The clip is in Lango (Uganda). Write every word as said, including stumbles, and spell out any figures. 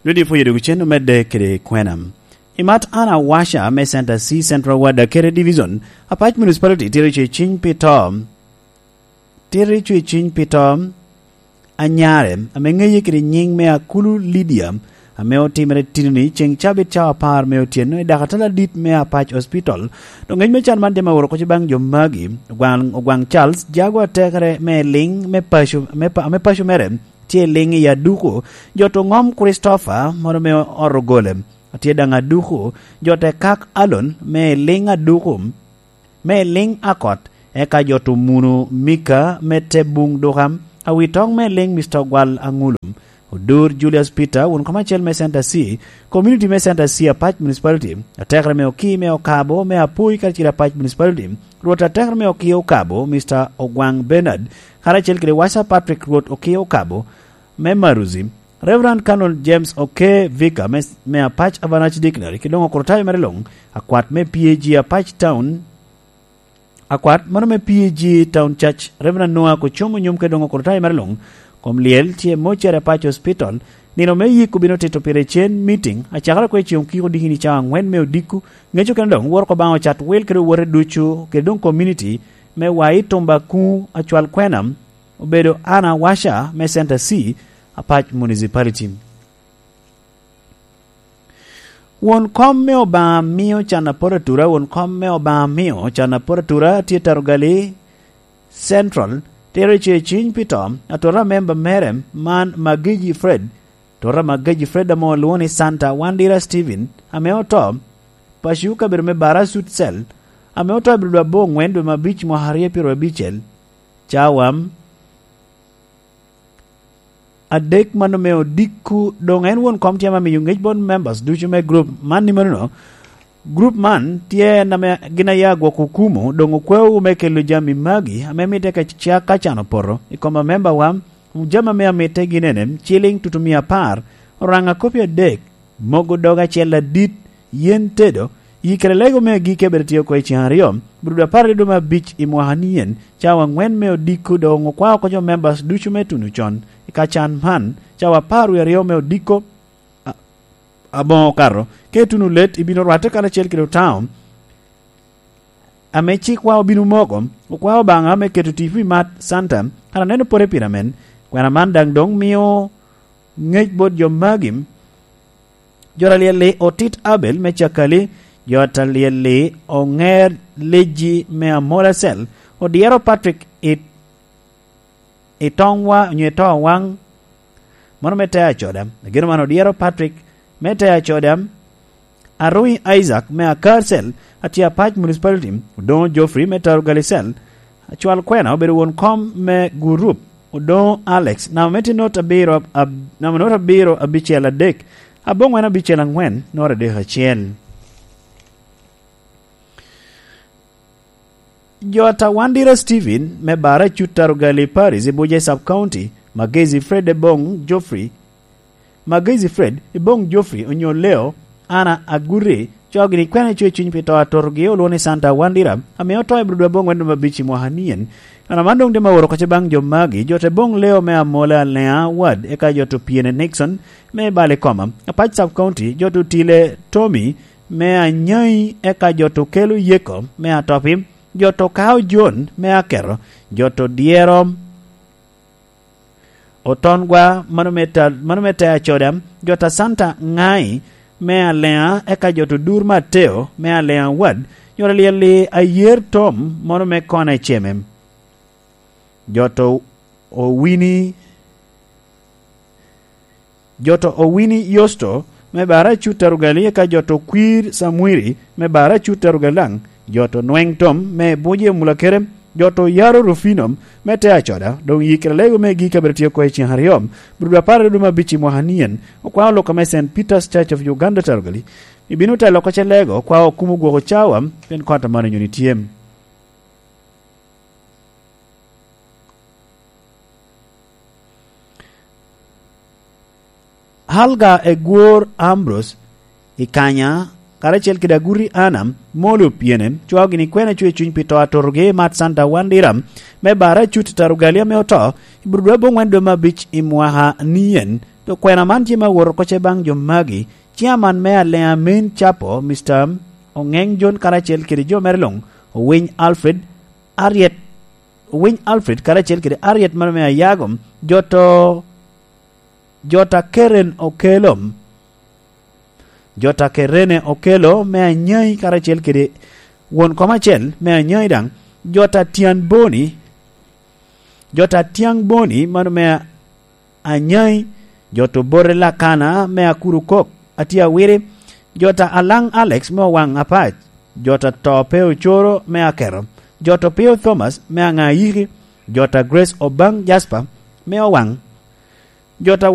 Nudi pwonyo dok cen omedde kede kwena. I mat Anna Washa me Center C Central Ward Akere Division, Apac Municipality tito ce ciny pi to. Tito ce ciny pi to anyare, ame ŋeye kede nyiŋ me Akulu Lydia, ame otimere tinoni ceŋ cabit cawa apar me otyeno i dakatala adit me Apac Hospital. Dok ŋec me can man tye ma oro kocci baŋ jo magi, Ogwaŋ, Ogwaŋ Charles, jago atekere me liŋ me paco, me pa-, me paco mere, tye i liŋ i Aduku, jo to ŋom Christopher, mono me ot ogole, atye daŋ Aduku, jo te kak Alon, me i liŋ Aduku, me i liŋ Akot, eka jo to muno Mika, me te buŋ duka, awi toŋ me liŋ Mister Ogwal Aŋulu, Odur Julius Peter, won kom acel me Center C, community me Center C Apac Municipality, atekere me Oki, me Okabo, me Apui, kacel Apac Municipality, Rwot atekere me Oki Okabo, Mister Ogwaŋ Bernard, karacel kede Wasa Patrick Rwot Oki Okabo, me Maruzi, Reverend Canon James Oke Vicar me, me Apac Avanach Dictionary, kede doŋ okurutayo mere luŋ, akwat me P A G Apac Town, akwat mano me P A G Town Church, Reverend Noah Kocomo Nyom, kede doŋ okurutayo mere luŋ, kom lyel tye mocere Apac Hospital, nino me yik obino tito pire cen meeting, acakere kwe ceŋ okiko dikini cawa aŋwen me odiko, ŋeco kene doŋ woro ko baŋ ocat wil kede owote ducu, kede doŋ community, me wa i Tumba Kuŋu acwal kwena, obedo Anna Washa me Center C, Apac Municipality. Won kom me Obaŋa mio can apot atura, won kom me Obaŋa mio can apot atura tye Tarugali Central, tero ce ciny pi to, atora memba mere man Magiji Fred, tota Magiji Fred ame olwoŋo ni Santa Wandira Steven, ame oto, paco kabedo me Bara Sud Cell, ame oto i Abdul Abbo ŋwen dwe me abic mwaka aryo pyero abicel, cawa adek mano me odiko, doŋ en won kom tye ame miyo ŋec bot members ducu me group man ni manono. Group man tye en ame gin aye agwoko okumo, doŋ okwao me kelo jami magi ame mitte ka ca-, ka can opoto i kom amembawa. Jami ame amitte gin ene, ciliŋ tutumia apar, oraŋ akopi adek, mogo dog acel adit, yen tedo, yikere lego me agikki abed tye oko i cen aryo, brudo apar i dwe me abic i mwaka ni yen, cawa aŋwen me odiko doŋ okwao oko jo members ducu me tuno con. I ka can man, cawa apar wie aryo me odiko, a-, aboŋo okato, ka ituno let, ibino rwatte karacel kede otao, ame cikwa obino moko, okwao Obaŋa me keto tipo i mat Santa, kara neno pore pire amen. Kwena man daŋ doŋ mio ŋec bot jo magi, jo ta lyel-li Otit Abel me Cakali, jo ta lyel-li Oŋer Leji me Amola Cell, Odyero Patrick i, i Toŋwa, onyo i Towaŋ, mano me Tea Coda. Ageno man Odyero Patrick me Tea Coda, Arui Isaac me Akar Cell, atye Apac Municipality, Odoŋo Geoffrey me Tarugali Cell, acwal kwena obedo won kom me gurup, Odoŋo Alex, namba me tye not abiro ab-, namba not abiro abicel adek, aboŋwen abicel aŋwen, not adek acel. Jo ta Wandira Steven me Bara Cut Tarugali Paris i Buje Sub County, Magezi Fred Ebong Geoffrey, Magezi Fred Ebong Geoffrey onyo Leo, Ana Aguri, cogi ni kwena icoyo cwiny pi to atotogi olwoŋo ni Santa Wandira, ame oto i Abdul Abong wen dwe me abic i mwaka nien. Ana man doŋ tye ma oro kacce baŋ jo magi, jo te Bong Leo me Amola Alea Ward, eka jo to Piene Nixon me Balikoma, Apac Sub County, jo to Tile Tommy me Anyai, eka jo to Kelo Yeko me Atopi, jo to Kao John me Aketo, jo to Dyero Otongwa, mano me ta-, mano me Tea Coda, jo ta Santa Ŋai me Alea, eka jo to Dur Mateo me Alea Ward, jo to Lyelli Ayer Tom, mano me Kona Eceme, jo to Owini, jo to Owini Yosto me Bara Cut Tarugali, eka jo to Kwir Samwiri me Bara Cut Tarugali daŋ, jo to Nweŋ Tom me Buje Mulakere, jo to Yaro Rufino me Tea Coda, doŋ yikere lego me gik abiro tye oko i cen aryo, brudo apar i dwe me abic i mwaka nien, okwao lok ame Saint Peter's Church of Uganda Tarugali, ibino telo oko ce lego, okwao okumo gwoko cawa, pien kot amano nyoni tye. Halga Egwor Ambrose i kanya, karacel kede Aguti Anna, Moli Opiene, cwaogi ni kwena cwe cuny pi to atotogi i mat Santa Wandira, me Bara Cut Tarugali ame oto, i Burudwe aboŋwen dwe me abic i mwaka nien, To kwena man tye me awot oko ce baŋ jo magi, ciaman me Aleamin Capo, Mister Oŋeŋ Jon karacel kede jo mere luŋ, Owiny Alfred Ariet, Owiny Alfred karacel kede Ariet mano me Ayago, jo to, jo ta Keren Okelo, jo ta Kerene Okelo me Anyai karacel kede won kom acel me Anyai daŋ, jo ta Tyan Boni, jo ta Tyaŋ Boni mano me Anyai, jo to Bote Lakana me Akuru Kok, atye awiri, jo ta Alaŋ Alex me Owaŋ Apac, jo ta To Pe Ocoro me Aketo, jo to Pio Thomas me Aŋayiki, jo ta Grace Obaŋ Jasper me Owaŋ, jo ta